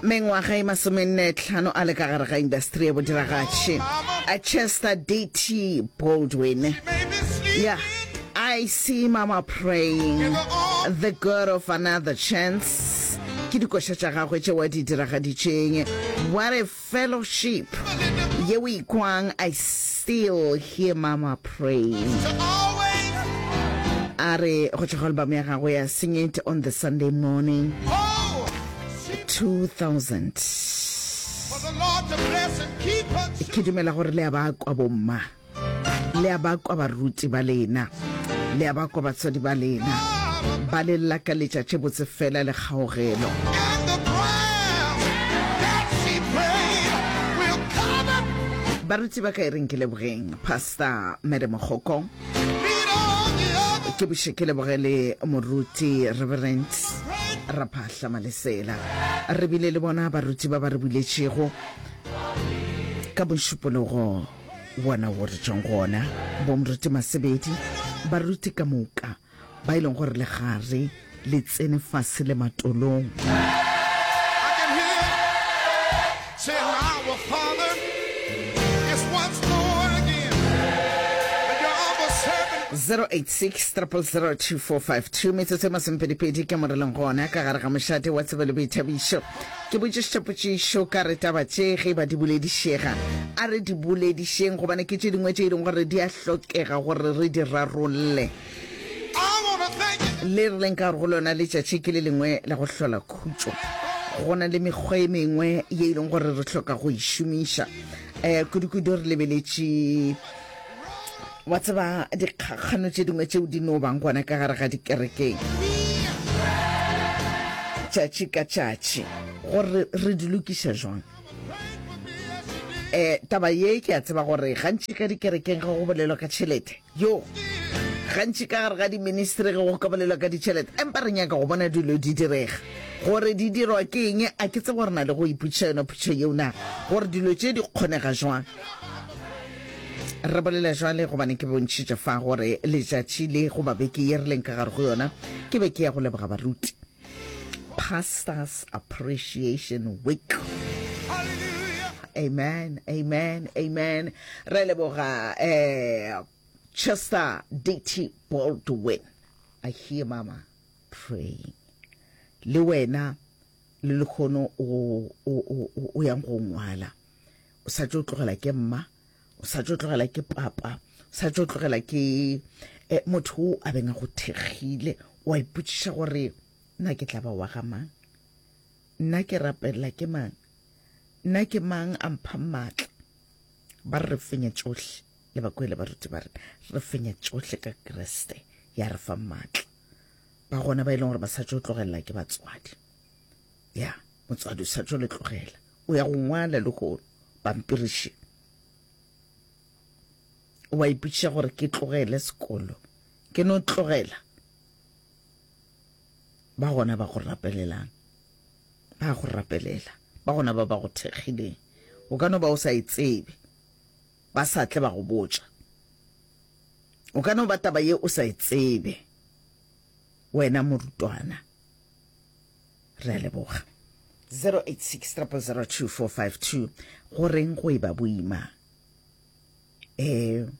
Mengwaga e masomennetlhano a le ka gare ga indasteri ya bodiragatši, a Chester DT Baldwin. Yeah. I see mama praying, the God of another chance. Ke dikoša tša gagwe tšeo a di diragaditšeng. What a fellowship ye o ikwang I still hear mama praying. A re go tšwa go album ya gagwe ya Sing It on the Sunday Morning 2000. Ke dumela gore le a ba kwa bomma. Le a ba kwa baruti ba lena. Le a ba kwa batswadi ba lena. Ba le lakaletša tše botse fela le kgaogelo. Baruti ba ka e reng ke lebogeng Pastor Mary Mogoko. Ke buše ke leboge le moruti Reverend Raphahla Malesela. Re bile le bona baruti ba ba re buletšego ka mošupologo wona wo re tšwang go ona, bomoruti Masebedi, baruti ka moka ba e leng gore le gare le tsene fase le matolong. Zero eight six triple zero 2452 metsotso e masomepedipedi ke mo re leng gona ka gare ga mošate wa tsebo le boithabišo. Ke botšišitše potšišo ka re taba tše ge e ba di boledišega, a re di boledišeng gobane ke tše dingwe tše e leng gore di a hlokega gore re di rarolle. Le re leng ka gore go lona letšatši ke le lengwe la go hlola khutšo. Go na le mekgwa e mengwe ye e leng gore re hloka go e šomiša, um kudu-kudu re lebeletše Wa tseba, dikgakgano tše dingwe tšeo di no bang gona ka gare ga dikerekeng tšatši ka tšatši, gore re di lokiša jwang. Um taba ye ke a tseba gore gantši ka dikerekeng ge go bolelwa ka tšhelete, yo gantši ka gare ga diministry ge go ka bolelwa ka ditšhelete, empa re nyaka go bona dilo di direga. Gore di dirwa ke eng, a ke tsebe gore na le go ipotšiša yona potšišo yeo na, gore dilo tše di kgonega jwang. Re bolela jwale gobane ke bontšhitše fa gore letšatši le goba beke ye re leng ka gare go yona ke beke ya go leboga baruti. Pastors Appreciation Week. Amen, amen, amen. Re leboga eh, Chester DT Baldwin. I hear mama praying. Le wena le lekgono o, o, o, o yang go ngwala. O sa tšo tlogela ke mma, o sa tšo tlogela ke papa, o sa tšo tlogela ke eh, motho o a beng a go thekgile. O a ipotšiša gore nna ke tla ba wa ga mang? Nna ke rapelela ke mang? Nna ke mang a mphang maatla? Ba re re fenya tšohle, le ba kwele baruti ba re re fenya tšohle ka Kriste ya re fang maatla. Ba gona ba e leng gore ba sa tšo tlogelela ke batswadi. Ya, motswadi o sa tšo le tlogela. O ya go ngwala lehono pampiriši. O a ipotšiša gore ke tlogele sekolo, ke no tlogela. Ba gona ba go rapelelang, ba go rapelela, ba gona ba ba go thekgileng. O ka no ba o sa e tsebe, ba sa tle ba go botša. O ka no ba taba ye o sa e tsebe, wena morutwana. Re a leboga. 086 0002452 Go reng go e ba boima um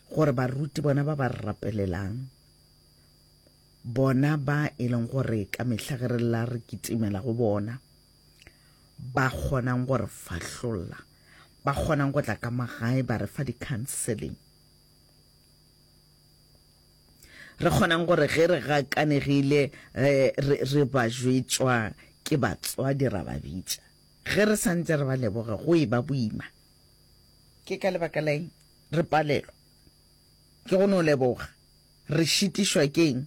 gore baruti bona ba ba re rapelelang, bona ba e leng gore ka mehla ge re lla re kitimela go bona, ba kgonang go re fahlolla, ba kgonang go tla ka magae ba re fa di-counseling. Re kgonang gore ge re gakanegile re, re, re ba jwetšwa ke batswadi ra ba bitša. Ge re sa ntše re ba leboga go e ba boima. Ke ka lebaka la eng re palelwa ke go no leboga? Re šitišwa ke eng?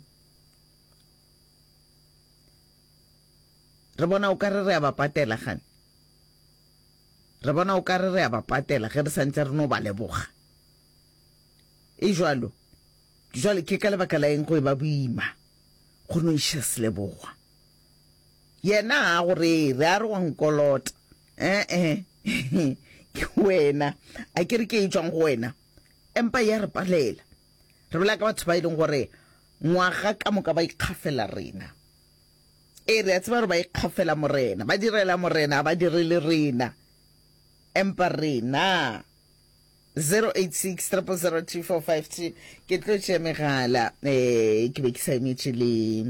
Re bona o ka re re a ba patela gane. Re bona o ka re re a ba patela ge re sa ntše re no ba leboga. E jwalo. Jwale ke ka lebaka la eng go e ba boima go no iša selebogwa? Yena ga a go rere, a re wa nkolota. E-e, ke wena. A ke re ke e tšwang go wena. Empa ya re palela. Re bolela ka batho ba e leng gore ngwaga ka moka ba ikgafela rena. Ee, re a tseba gore ba ikgafela Morena, ba direla Morena, ga ba direle rena. Empa rena 086 000 2452 ke tlo tšea megala eh ke be ke sa emetše le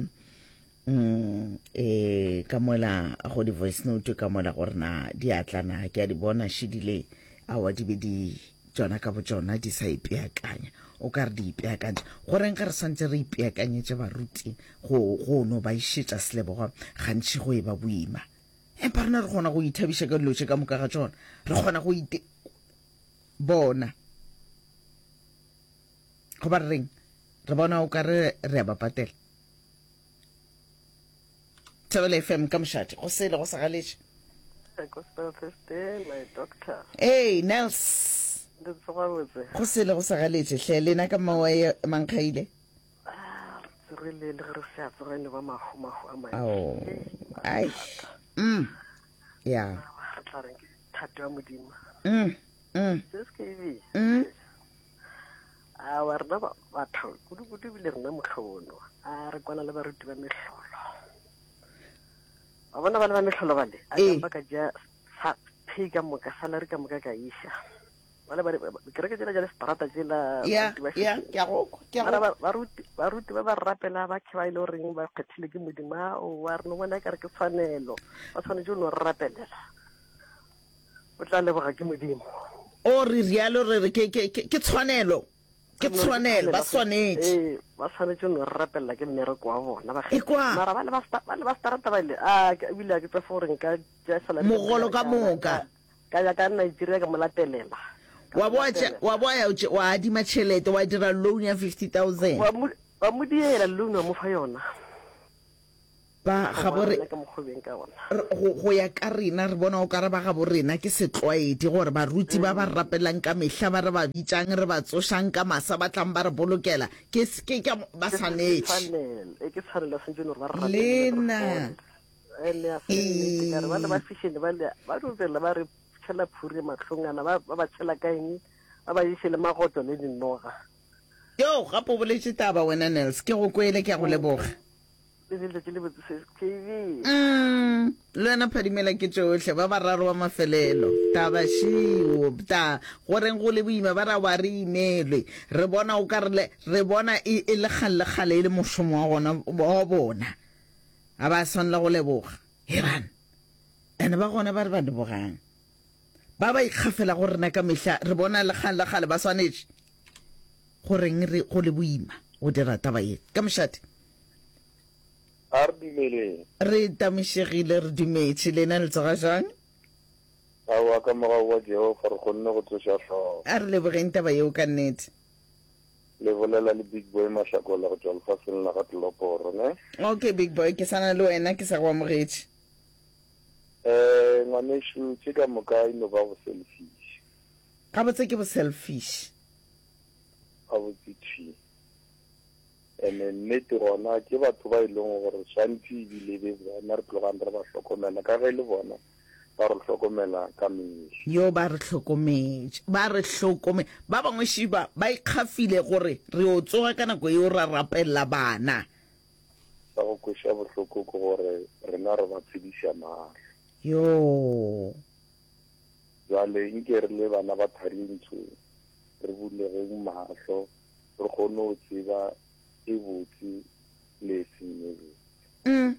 mm eh ka mola go di voice note ka mola gore na di a tla na ke a di bona šidile awa di be di tšona ka botšona di sa ipeakanya o ka re di ipeakantše goreng ge re swantse re ipeakanyetše baruti go go no ba išetša seleboga gantši go e ba boima empa rena re kgona go ithabiša ka dilo tše ka moka ga tšona re kgona go ite bona goba re reng re bona o ka re re a ba patela Thobela FM ka mošate go sele go sa galetše Gospel Thursday, my doctor. Hey, Nels. Ndi tsoga botse. Go sele go sa galetše hle lena ka mawae mankgaile. Ah, re le le re se a tsoga ne ba mahu mahu a mantši. Ao. Ai. Mm. Ya. Re tla reng ke thato ya Modimo. Mm. Mm. Se se ke ebe. Mm. Awa rena batho kudu-kudu ebile rena mohlobono a re kwana le baruti ba mehlolo. Wa bona ba le ba mehlolo bale a Ee. ba ka ja sa pay ka moka salary ka moka ka iša. Bale ba kereke tsela ja le strata tsela Ya, baruti ba ya, šetše. ke a go kwa, ke a go Mara kwa. ba- baruti baruti ba ba rapela ba khe ba ile goreng ba kgethile ke Modimo ao wa re no bona e kare ke tshwanelo ba tshwanetse o no re rapelela. O tla leboga ke Modimo. O re rialo re re ke, ke, ke, ke tshwanelo. Ke tshwanelo, ba swanetše. Ee, ba swanetše no re rapelela ke mmereko wa bona. Ba Ekwa. Mara ba le ba ba le ba starata ba ile a ebile a ke tsefe gore nka tšea salary Mogolo ka moka. Ka ya ka Nigeria ka mo latelela. Wa bo wa bo ya wa adima tšhelete wa dira loan ya 50000. Wa mo wa mo diela loan wa mo fa yona. Ba gabo re, go, go ya ka rena, re bona o ka re ba gabo rena ke setlwaedi gore baruti ba ba re rapelang ka mehla, ba re ba bitšang, re ba tsošang ka masa, ba tlang ba re bolokela, ke, ke, ke, ba swanetše. Lena. Ba le ba fishene ba le ba no tsela ba re tšhela phuri mahlong ana ba ba tšhela ka eng ba ba iše le magoto le dinoga. Yo, gape o boletše taba wena Nels, ke go kwele, ke a go leboga. Le be letšatši le botse sis KB. Mm, le wena phadimela ke tšohle, ba bararo ba mafelelo. Taba šio, ta, go reng go le boima, ba ra wa re imelwe. Re bona o ka re le, re bona e, e le kgale le kgale e le mošomo wa gona, wa bona. Ga ba swanela go leboga. Heban. Ene ba gona ba re ba lebogang. Ba ba ikgafela go rena ka mehla, re bona le kgale le kgale ba swanetše. Go reng re go le boima go dira taba ye? Ka mošate. A re dumeleng. Re tamišegile, re dumetše. Lena le tsoga jwang? Aowa, ka mogau wa Jehofa re kgonne go tsoša hlogo. A re lebogeng taba yeo ka nnete. Le bolela le Big Boy Mashakola go tšwa lefaseng la ga Tleloporo, ne? Okay, Big Boy, ke sa na le wena, ke sa go amogetše. Eh, ngwanešu, tše ka moka e no ba go selfish. Gabotse ke bo selfish. Gabotse thwi. Ene nnete gona ke batho ba e leng gore swantse ebile be bona re tlogang re ba hlokomela ka ge e le bona ba re hlokomela ka mehla. Yo ba re hlokometše, ba re hlokome. Ba bangwe šiba ba ikgafile gore re yo tsoga ka nako yeo ra rapelela bana. Sa go kweša bohloko ke gore rena re ba tshediša mahlo. Yoo. Bjale nke re le bana ba Tharintsho re bulegeng mahlo re kgone go tseba e botse le e seng e botse. Mm.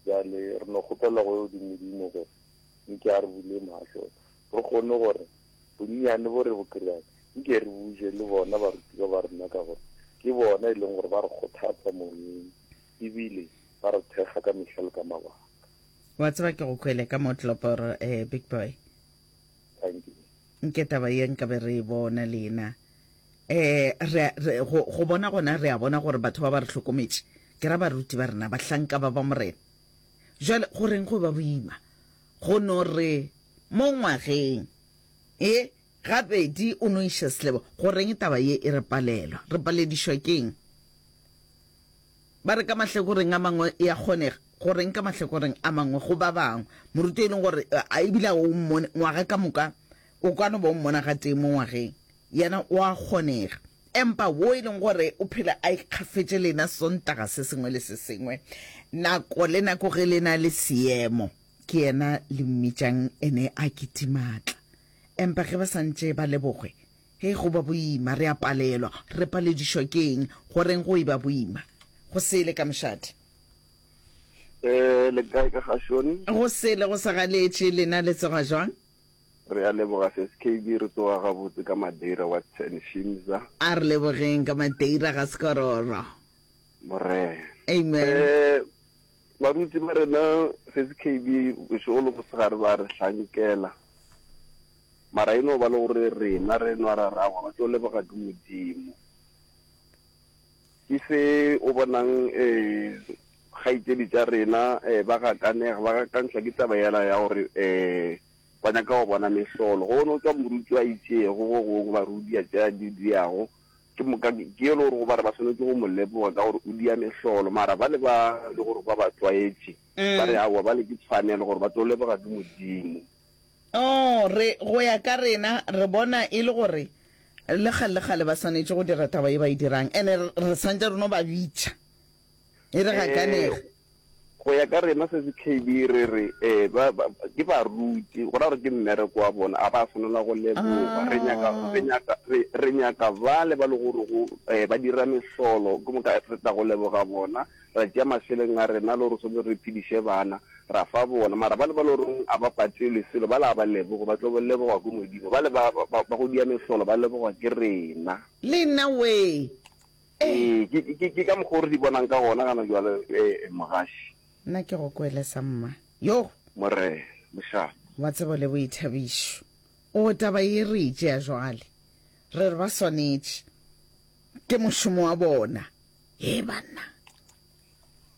Bjale re no kgopela go yo Modimo gore nke a re bule mahlo re kgone gore bonnyane bo re bo kry-ang nke re buje le bona barutiwa ba rena ka gore ke bona e leng gore ba re kgothatsa moyeng ebile ba re thekga ka mehla le ka mabaka. Wa tseba ke go kwele ka mo Tloporo eh, big boy. Thank you. Nke taba ye nka be re e bona lena. Eh, re, re, go, go bona gona re a bona gore batho ba ba re hlokometše. Ke ra baruti ba rena, bahlanka ba ba Morena. Jwale go reng go ba boima go no re mo ngwageng e gabedi o no iša selebo? Go reng taba ye e re palelwa? Re paledišwa keng? Ba re ka mahlakoreng a mangwe e a kgonega, go reng ka mahlakoreng a mangwe go ba bangwe? Moruti e leng gore a ebile a o mmone ngwaga ka moka, o ka no ba o mmona gatee mo ngwageng, yena o a kgonega. Empa wo e leng gore o phela a ikgafetše lena Sontaga se sengwe le se sengwe, nako le nako ge le na le seemo, ke yena le mmitšang ene a kitimatla. Empa ge ba sa ntše ba lebogwe, hei go ba boima, re a palelwa. Re paledišwa ke eng? Goreng go eba boima? Go sele ka mošate. Eh, le kae ka gašone? Go sele go sa galetše, lena le tsoga jwang? Re a leboga Sis KB, re tsoga gabotse ka Madeira wa 10 Shimza. A re lebogeng ka Madeira ga Sekororo. Morena. Amen. Eh, baruti ba rena Sis KB bošego le mosegare ba re hlankela. Mara e no ba le gore rena re nwa ra rawa ba tlo leboga ke Modimo. Ke se o bonang eh kgaetšedi tša rena eh ba gakanega ba gakantšhwa ke taba yela ya gore eh ba nyaka go bona mehlolo. Go no tšwa moruti a itšego go gongwe ba re o dia tše a di diago, ke moka ke e le gore go ba re ba swanetše go mo leboga ka gore o dia mehlolo. Mara bale ba le gore ba ba tlwaetše ba re aowa bale ke tshwanelo gore ba tlo leboga ke Modimo. Oh, re, go ya ka rena, re bona e le gore le kgale le kgale ba swanetše go dira taba ye ba e dirang, ene re, re swantše re no ba bitša. E re gakanega. Eh, go ya ka rena se se KB re re eh, ba, ba, ke baruti, go ra gore ke mmereko wa bona, a ba swanela go leboga. Re nyaka, re nyaka, re, re nyaka bale ba le gore go, eh, ba dira mehlolo, ke moka re tla go leboga bona, ra tšea mašeleng a rena le gore swanetse re phediše bana, ra fa bona. Mara bale ba le goreng a ba patelwe selo, bale a ba leboge, ba tlo lebogwa ke Modimo. Bale ba, ba, ba go dia mehlolo ba lebogwa ke rena. Le nna wee. Ee, ke, ke, ke ka mokgwa o re di bonang ka gona gana jwale, eh, mogaši. Nna ke go kwele sa mma. Yo! Morena, mošate. Wa tsebo le boithabišo. O, taba ye re e tšea jwale. Re re ba swanetše. Ke mošomo wa bona. Hee banna!